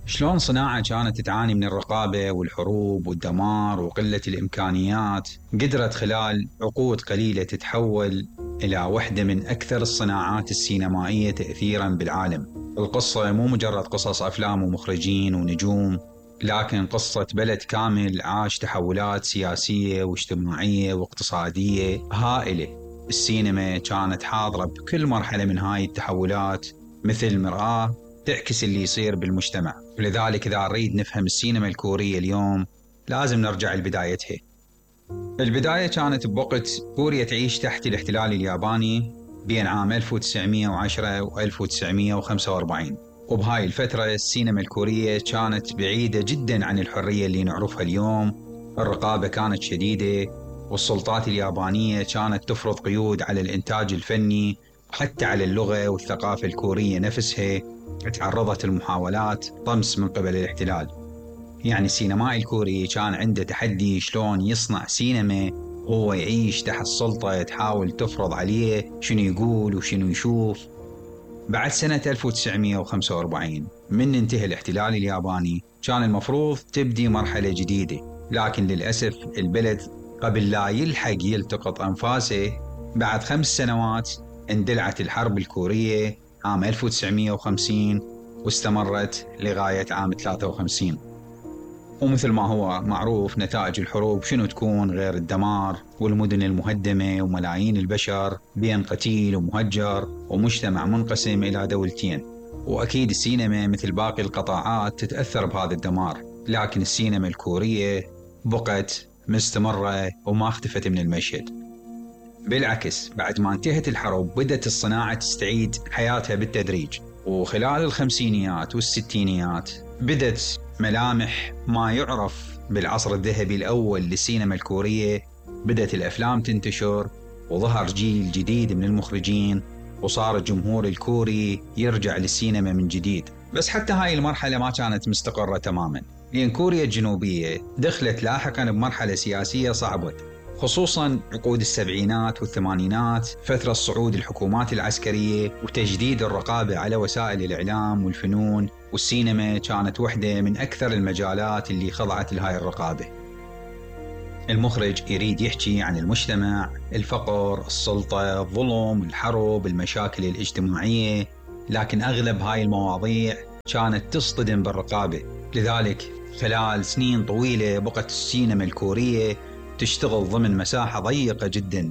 شلون صناعة كانت تعاني من الرقابة والحروب والدمار وقلة الإمكانيات قدرت خلال عقود قليلة تتحول إلى واحدة من أكثر الصناعات السينمائية تأثيراً بالعالم. القصة مو مجرد قصص أفلام ومخرجين ونجوم، لكن قصة بلد كامل عاش تحولات سياسية واجتماعية واقتصادية هائلة. السينما كانت حاضرة بكل مرحلة من هاي التحولات مثل مرآة تعكس اللي يصير بالمجتمع. ولذلك إذا نريد نفهم السينما الكورية اليوم لازم نرجع لبدايتها. البداية كانت بوقت كوريا تعيش تحت الاحتلال الياباني بين عام 1910 و 1945، وبهاي الفترة السينما الكورية كانت بعيدة جدا عن الحرية اللي نعرفها اليوم. الرقابة كانت شديدة، والسلطات اليابانية كانت تفرض قيود على الإنتاج الفني حتى على اللغة والثقافة الكورية نفسها. تعرضت المحاولات طمس من قبل الاحتلال. يعني السينمائي الكوري كان عنده تحدي شلون يصنع سينما وهو يعيش تحت سلطة تحاول تفرض عليه شنو يقول وشنو يشوف. بعد سنة 1945 من انتهى الاحتلال الياباني كان المفروض تبدي مرحلة جديدة، لكن للأسف البلد قبل لا يلحق يلتقط أنفاسه بعد 5 سنوات اندلعت الحرب الكورية عام 1950 واستمرت لغاية عام 53. ومثل ما هو معروف نتائج الحروب شنو تكون غير الدمار والمدن المهدمة وملايين البشر بين قتيل ومهجر ومجتمع منقسم إلى دولتين. وأكيد السينما مثل باقي القطاعات تتأثر بهذا الدمار، لكن السينما الكورية بقت مستمرة وما اختفت من المشهد. بالعكس بعد ما انتهت الحرب بدأت الصناعة تستعيد حياتها بالتدريج، وخلال الخمسينيات والستينيات بدأت ملامح ما يعرف بالعصر الذهبي الأول للسينما الكورية. بدأت الأفلام تنتشر وظهر جيل جديد من المخرجين، وصار الجمهور الكوري يرجع للسينما من جديد. بس حتى هاي المرحلة ما كانت مستقرة تماما، لأن كوريا الجنوبية دخلت لاحقا بمرحلة سياسية صعبة، خصوصاً عقود السبعينات والثمانينات، فترة صعود الحكومات العسكرية وتجديد الرقابة على وسائل الإعلام والفنون. والسينما كانت واحدة من أكثر المجالات اللي خضعت لهاي الرقابة. المخرج يريد يحكي عن المجتمع، الفقر، السلطة، الظلم، الحرب، المشاكل الاجتماعية، لكن أغلب هاي المواضيع كانت تصطدم بالرقابة. لذلك خلال سنين طويلة بقت السينما الكورية تشتغل ضمن مساحة ضيقة جدا،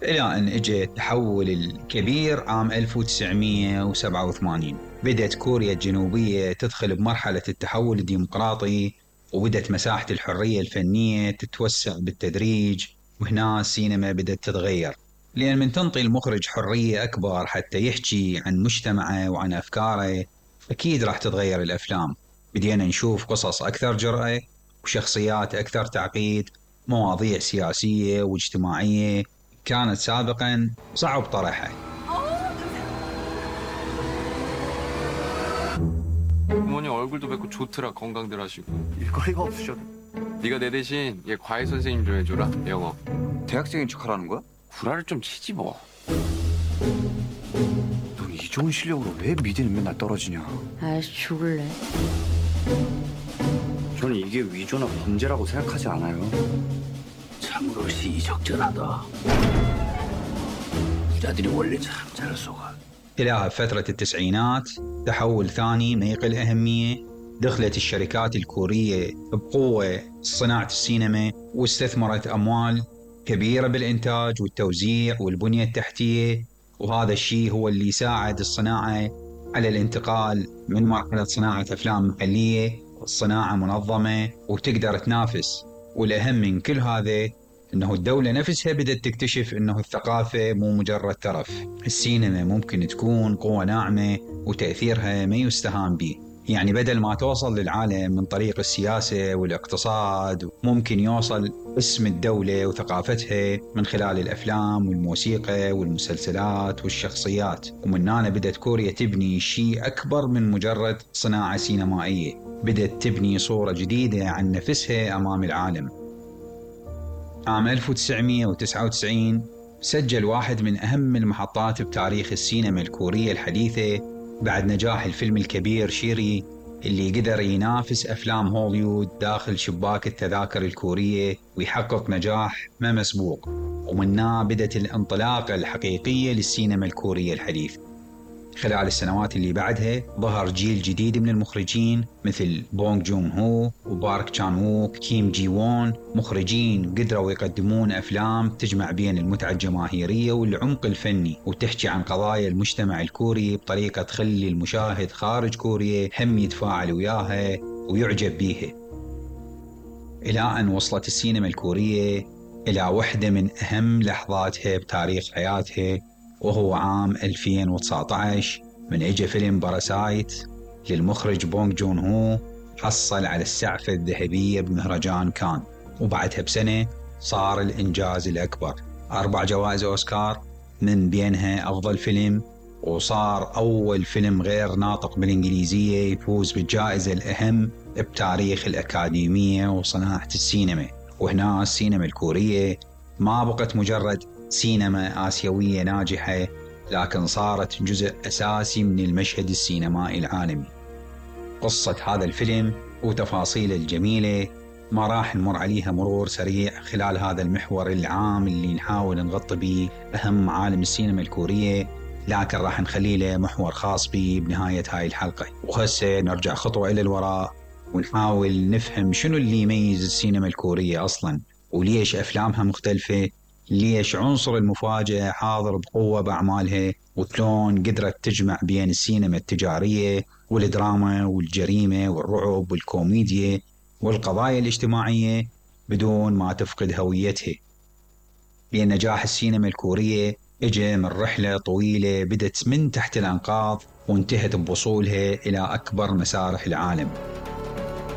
إلى أن اجى التحول الكبير عام 1987. بدأت كوريا الجنوبية تدخل بمرحلة التحول الديمقراطي، وبدأت مساحة الحرية الفنية تتوسع بالتدريج. وهنا السينما بدأت تتغير، لأن من تنطي المخرج حرية أكبر حتى يحكي عن مجتمعه وعن أفكاره أكيد راح تتغير الأفلام. بدينا نشوف قصص أكثر جرأة وشخصيات أكثر تعقيد، مواضيع سياسية واجتماعية كانت سابقا صعب طرحها. 부모님 얼굴도 뵙고 좋더라. 건강들 하시고. 일거리가 없으셔도. 네가 내 대신 얘 과외 선생님 좀 해줘라. 영어. 대학생인 척하라는 거야? 구라를 좀 치지 뭐. 넌 이 좋은 실력으로 왜 미대는 맨날 떨어지냐? 아이씨 죽을래. 저는 이게 위조나 범죄라고 생각하지 않아요. 참으로 시의적절하다. 부자들이 원래 참 잘 속아. إلى فترة التسعينات تحول ثاني ما يقل أهمية. دخلت الشركات الكورية بقوة صناعة السينما، واستثمرت أموال كبيرة بالإنتاج والتوزيع والبنية التحتية. وهذا الشيء هو اللي ساعد الصناعة على الانتقال من مرحلة صناعة أفلام محلية لصناعة منظمة وتقدر تنافس. والأهم من كل هذا إنه الدولة نفسها بدأت تكتشف إنه الثقافة مو مجرد ترف. السينما ممكن تكون قوة ناعمة وتأثيرها ما يستهان به. يعني بدل ما توصل للعالم من طريق السياسة والاقتصاد، ممكن يوصل اسم الدولة وثقافتها من خلال الأفلام والموسيقى والمسلسلات والشخصيات. ومن هنا بدأت كوريا تبني شيء أكبر من مجرد صناعة سينمائية، بدأت تبني صورة جديدة عن نفسها أمام العالم. عام 1999 سجل واحد من أهم المحطات بتاريخ السينما الكورية الحديثة بعد نجاح الفيلم الكبير شيري اللي قدر ينافس أفلام هوليوود داخل شباك التذاكر الكورية ويحقق نجاح ما مسبوق، ومنها بدت الانطلاقة الحقيقية للسينما الكورية الحديثة. خلال السنوات اللي بعدها ظهر جيل جديد من المخرجين مثل بونغ جون هو وبارك تشان ووك، كيم جي وون، مخرجين قدروا يقدمون أفلام تجمع بين المتعة الجماهيرية والعمق الفني، وتحكي عن قضايا المجتمع الكوري بطريقة تخلي المشاهد خارج كوريا هم يتفاعل وياها ويعجب بيها. إلى أن وصلت السينما الكورية إلى واحدة من أهم لحظاتها بتاريخ حياتها، وهو عام 2019 من اجى فيلم باراسايت للمخرج بونغ جون هو، حصل على السعفة الذهبية بمهرجان كان، وبعدها بسنة صار الإنجاز الأكبر، 4 جوائز أوسكار من بينها أفضل فيلم، وصار أول فيلم غير ناطق بالإنجليزية يفوز بالجائزة الأهم بتاريخ الأكاديمية وصناعة السينما. وهنا السينما الكورية ما بقت مجرد سينما آسيوية ناجحة، لكن صارت جزء أساسي من المشهد السينمائي العالمي. قصة هذا الفيلم وتفاصيله الجميلة ما راح نمر عليها مرور سريع خلال هذا المحور العام اللي نحاول نغطي به أهم معالم السينما الكورية، لكن راح نخلي له محور خاص به بنهاية هاي الحلقة. وهسه نرجع خطوة إلى الوراء ونحاول نفهم شنو اللي يميز السينما الكورية أصلاً، وليش أفلامها مختلفة، ليش عنصر المفاجأة حاضر بقوة بأعمالها، وشلون قدرت تجمع بين السينما التجارية والدراما والجريمة والرعب والكوميديا والقضايا الاجتماعية بدون ما تفقد هويتها. لأن نجاح السينما الكورية اجى من رحلة طويلة بدت من تحت الأنقاض وانتهت بوصولها إلى أكبر مسارح العالم.